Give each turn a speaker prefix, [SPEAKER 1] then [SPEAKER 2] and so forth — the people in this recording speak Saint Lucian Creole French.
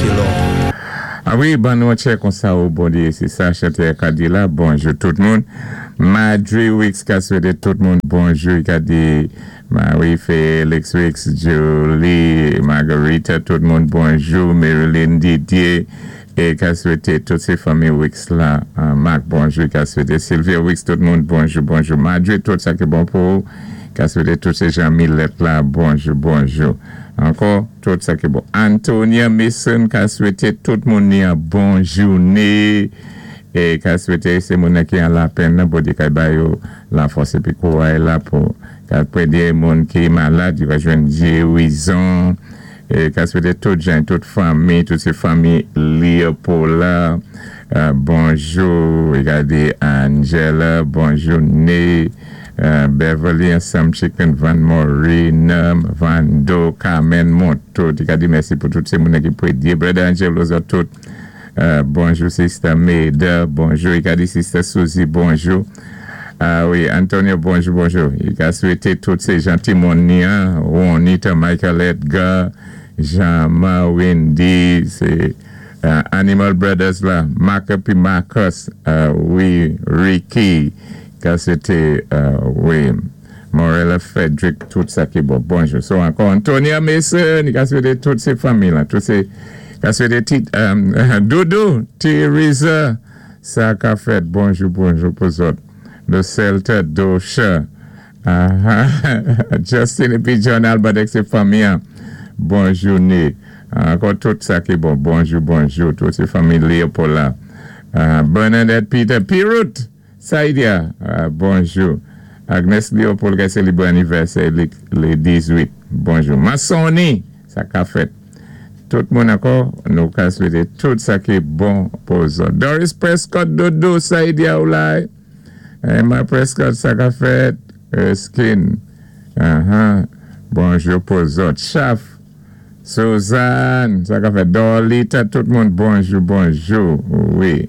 [SPEAKER 1] you, Lord.
[SPEAKER 2] A wi, ban nou tchè konsa ou Bondyé, sé sa chantè ka di la. Bonjou tout moun. Madry Wicks ka swété tout moun bonjou. I ka di Marie Félix Wicks, Julie, Margarita, tout moun bonjou. Marilyn Didier é ka swété tout sé fanmi Wicks la. Marc bonjou. I ka swété Sylvia Wicks, tout moun bonjou, bonjou. Madry, tout sa ki bon pou ou. Ka swété tout sé Jean Millet la bonjou, bonjou. Ankò, tout sa ki bon. Antonia Mason ka swété tout moun ni an bon jouné é ka swété sé moun ki an lapenn nan Bondyé kay ba yo lafòs épi kouray la pou ka prédé moun ki malad yo ka jwenn gérizon é ka swété tout jan tout fanmi, tout sé fanmi Leopold bonjou. I ka di Angela bonjouné, Beverly ansanm Chicken Van Maureen Vando Carmen Monto. I ka di mèsi pou tout sé moun ki prédyé Brother Angelo zòt tout bonjou. Sister Maida bonjou. I ka di Sister Suzy bonjou. A wi, Antonio, bonjou, bonjou. I ka swété tout sé jan ti-moun ni an, Juanita, Michael Edgar, Jean-Ma, Wendy, sé Animal Brothers la, Mark pi Marcus, wi, Ricky, ka swété, wi, Morella Frederick, tout sa ki bon. Bonjou. So ankò, Antonia Mason, i ka swété tout sé fanmi la, tout sé, ka swété ti, Doudou, Teresa, sa ka fèt, bonjou, bonjou pou zòt. Le Celta Dosha, Justin épi John Albert ak sé fanmi an, bonjouné. Ankò tout sa ki bon, bonjou, bonjou, tout sé fanmi Leopold la. Bernadette Peter, Pirut, Saïdia, bonjou. Agnes Leopold ki sélébré anivèsè lé 18, bonjou. Mansoni, sa ka fèt. Tout moun ankò, nou ka swété tout sa ki bon pou zòt. Doris Prescott, Dodo, Saïdia Oulay, Emma Prescott, sa ka fèt. Erskine, bonjou pou zòt. Chaf, Suzanne, sa ka fèt. Dorlita, tout moun bonjou, bonjou, wi.